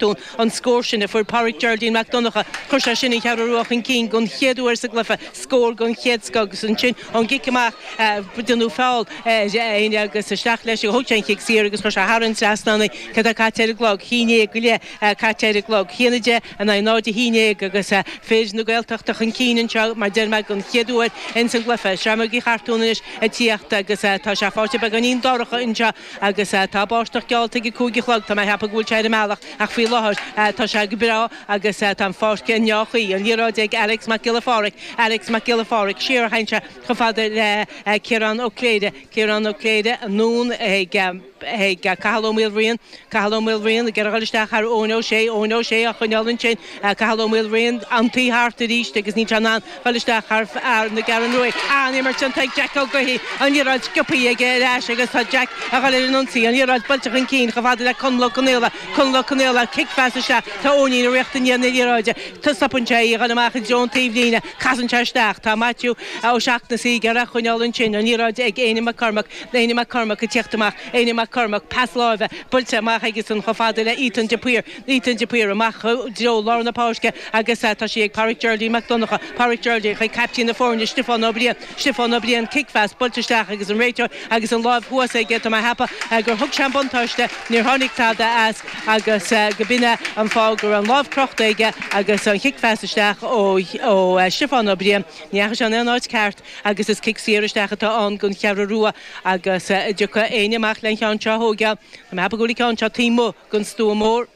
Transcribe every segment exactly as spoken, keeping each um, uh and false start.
Chartún an scór sin a fuair Pádraig Geraldine Mac Donncha chuir sé sin an Cheathrú Rua chun cinn don chéad uair sa gcluiche scór den chéad scoth agus ansin ón gcic amach déanadh feall air agus isteach leis thóg sé an chic saor agus chuir sé thar an trasnán cad é caite ar an gclog haon déag go leith caite ar an gclog haon a deich in aghaidh náid a haon déag agus fir na Gaeltachta chun cinn anseo mar deir mé don chéad uair ins an gcluiche Seamróg Uí Chartúin anois ag tíocht agus tá sé fáite beagáinín dorcha anseo agus tá báisteach geallta ag a cúig a chlog tá mé ag ceapadh go bhfuil sé ar an mbealach ach faoi láthair tá sé go breá agus tá an pháirc i ndea-chaoi an liathróid ag Alex Mac Giolla Phádraig Alex Mac Giolla Phádraig siar a théann sé chomh fada le Ciarán Ó Cléire Ciarán Ó Cléire anonn ag ag Cathal Ó Maoilriain Cathal Ó Maoilriain ag iarraidh isteach thar Eoin Ó Sé Eoin Ó Sé á choinneáil ansin Cathal Ó Maoilriain an taobh thart arís agus níl sé in ann dul isteach thar fear na Ceathrún Rua an-imirt ag Jack Ó Gaoithí an liathróid sciobtha aige ar ais agus tá Jack ag dul ar an ionsaí an liathróid buailte chun cinn chomh fada le Conall Ó Conaola Conall Ó Conaola cicphas isteach tá Eoinín ag rith i ndiaidh na liathróide Tá stopann sé í chun amach i dtreo an taobhlíne casann sé isteach tá Matthew Ó Seachnasaigh ar a choinneáil ansin an liathróid ag Éanna Mac Cormac Éanna Mac Cormac ag tíocht amach Éanna Mac Cormac pas láimhe buailte amach agus an chomh fada le Ethan de Paor Ethan de Paor amach i dtreo lár na páirce agus tá sí ag Pádraig Geraldine Mac Donncha Pádraig Geraldine chuig captaen na foirne Stiofán Ó Briain Stiofán Ó Briain cicphas buailte isteach agus an réiteoir agus an lámh thuas aige tá mé ag ceapadh gur thug sé an buntáiste níor tháinig tada as agus go b'in é an fáth go raibh an lámh crochta aige agus an chicphas isteach ó ó Stiofán Ó Briain ní dheachaigh sé in aon áit ceart agus is cic saor isteach atá ann don Cheathrú Rua agus dtiocfaidh éinne amach len cheann seo a thógáil Tá mé ag ceapadh go bhfuil an ceann seo taobh amuigh den stua mór.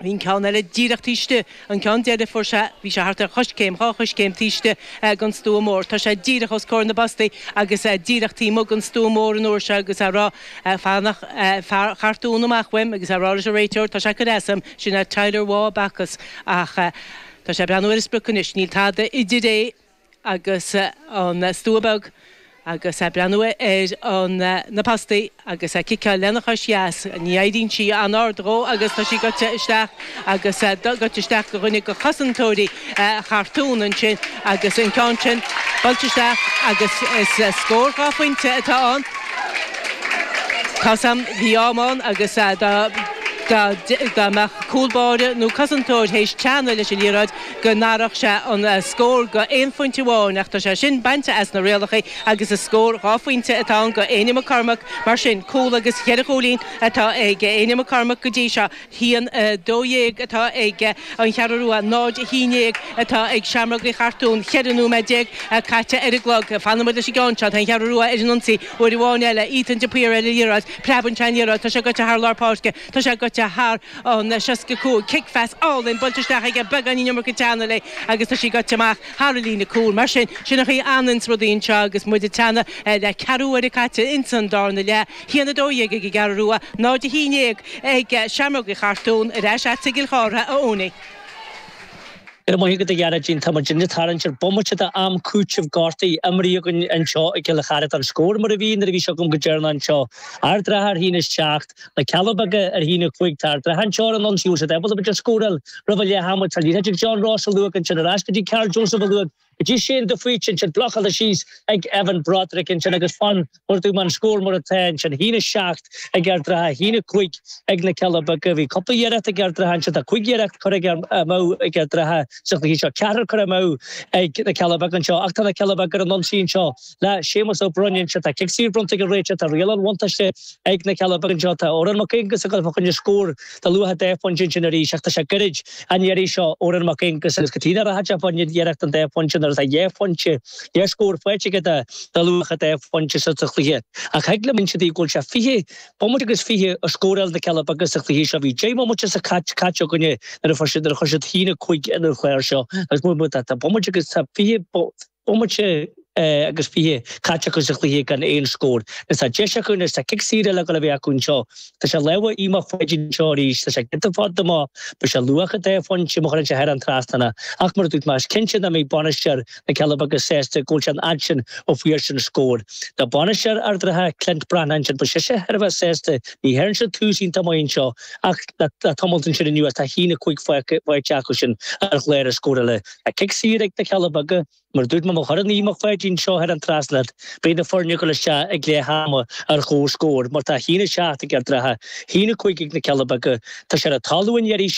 Bhí an ceann eile díreach taobh istigh, an ceann deiridh fuair sé, bhí sé thart ar choiscéim, dhá choiscéim taobh istigh den stua mór. Tá sé díreach os comhair na bpostaí agus díreach taobh amuigh den stua mór an uair seo agus á rá fanacht fear Chartún amach uaim agus á rá leis an réiteoir, tá sé ag cur as dom, sin é Tyler Waugh Bacchus ach tá sé ag breathnú ar an sprioc anois, níl tada idir é agus an stua beag. Agus é ag breathnú ar an na postaí agus é ag ciceáil lena chois dheas, ní éiríonn sí an-ard dhó agus tá sí goite isteach agus goite isteach go dhuine de chosantóirí Chartún ansin agus an ceann sin buailte isteach agus is scór dhá phointe atá ann. Tá's a'm, bhí am ann agus dá dá mbeadh cúl báire nó cosantóir théis teannadh leis an liathróid go n-athródh sé an scór go aon phointe amháin ach tá sé sin bainte as na rialacha agus is scór dhá phointe atá ann go Éanna McCormack mar sin cúl agus cheithre chúilín atá ag Éanna McCormack go dtí seo haon a dó dhéag atá ag an Cheathrú Rua náid a haon déag atá ag Seamróg Uí Chartúin ceithre nóiméad déag caite ar an gclog fanfaidh muid leis an gceann seo tá an Cheathrú Rua ar an ionsaí uair amháin eile Ethan de Paor ar an liathróid preabann sé an liathróid tá sé goite thar lár páirce tá sé goite thar an seasca cúig cicphas álainn buailte isteach aige beagáinín iomarca teannadh léi agus tá sí goite amach thar an líne cúil. Mar sin, sin an chaoi a fhananns rudaí anseo agus muid ag teannadh le ceathrú uaire caite ins an darna leath. Haon a dó dhéag ag an gCeathrú Rua, náid a haon déag ag Seamróg Uí Chartúin, ar ais agatsa i gCill Chártha, a Eoiní. Go raibh maith agat a Ghearóidín, tá muid ag tarraingt ar bomaite d'am cúitimh gortaithe imrithe againn anseo i gCill Chartha. An scór mar a bhí nuair a bhí seo agam go deireanach anseo. Ard an Rátha ar a haon a seacht, Na Cealla Beaga ar a haon a cúig. Tá Ard an Rátha anseo ar an ionsaí, bhfuil siad ábalta b'fhéidir scóráil roimh a leath ama. Tá liathróid ag John Ross a luadh ansin ar ais go dtí Karl Joseph a luadh go dtí Shane de Faoite ansin, blocáilte síos ag Evan Broderick ansin agus fan mar dúirt mé an scór mar atá ansin, a haon a seacht ag Ard an Rátha, a haon a cúig ag na Cealla Beaga. Bhí cúpla iarracht ag Ard an Rátha ansin, tá cúig iarracht curtha amú ag Ard an Rátha sa chluiche seo, ceathrar curtha amú ag na Cealla Beaga anseo ach tá na Cealla Beaga ar an ionsaí anseo le Séamus Ó Broin anseo. Tá cic saor bronnta ag an réiteoir, tá riail an bhuntáiste ag na Cealla Beaga anseo, tá Odhrán Mac Aonghusa ag dul fá choinne scór de luach dhá phointe ansin arís ach tá sé gairid an iarraidh seo Odhrán Mac Aonghusa agus cad chuige nach rachadh sé fá choinne iarracht an dá phointe nuair atá dhá phointe, dhá scór faighte aige de luach dhá phointe sa chluiche. Ach thig liom inse daoibh go bhfuil sé fiche bomaite agus fiche a scóráil na Cealla Beaga sa chluiche seo. Bhí deich mbomaite sa caite againne nuair a fuair siad nuair a chuir siad a haon a cúig ar an chlár seo agus tá bomaite agus tá fiche bomaite agus fiche caite acu sa chluiche gan aon scór. Anois tá deis acu anois, tá cic saor eile ag dul a bheith acu anseo. Tá sé i lámha Aodh Mac Pháidín anseo arís, tá sé giota fada amach, beidh sé luach dhá phointe má chuireann sé thar an trasnán é. Ach mar a dúirt mé, is cinnte nach mbeidh bainisteoir na Cealla Beaga sásta go bhfuil sé an fhad sin ó fuair siad an scór. Tá bainisteoir Ard an Rátha, Clint Breathnach ansin, beidh seisean thar a bheith sásta, ní théann siad tús iontach maith anseo ach le tamalt ansin anuas tá a haon a cúig faighte acu sin ar chlár a scórála. Tá cic saor ag na Cealla Beaga. Mar a dúirt mé, má chuireann Aodh Mac Pháidín seo thar an trasnán, beidh na foirne ag dul isteach ag leath ama ar chomhscór, mar tá a haon a seacht ag Ard an Rátha, a haon a cúig ag na Cealla Beaga. Tá sé ar an talamh an iarraidh seo.